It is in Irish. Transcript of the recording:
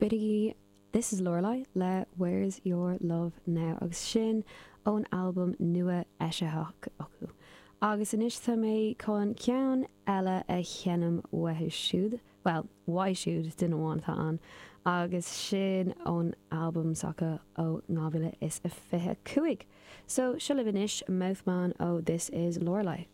B'in í This Is Lorelei le Where's Your Love Now agus sin ón albam nua eisithe acu. Agus anois tá mé chun ceann eile a sheinm uathu siúd, bhuel, uaidh siúd, duine amháin atá ann, agus sin ón albam s'acu ó 2025. So, seo libh anois Mouthman ó This Is Lorelei.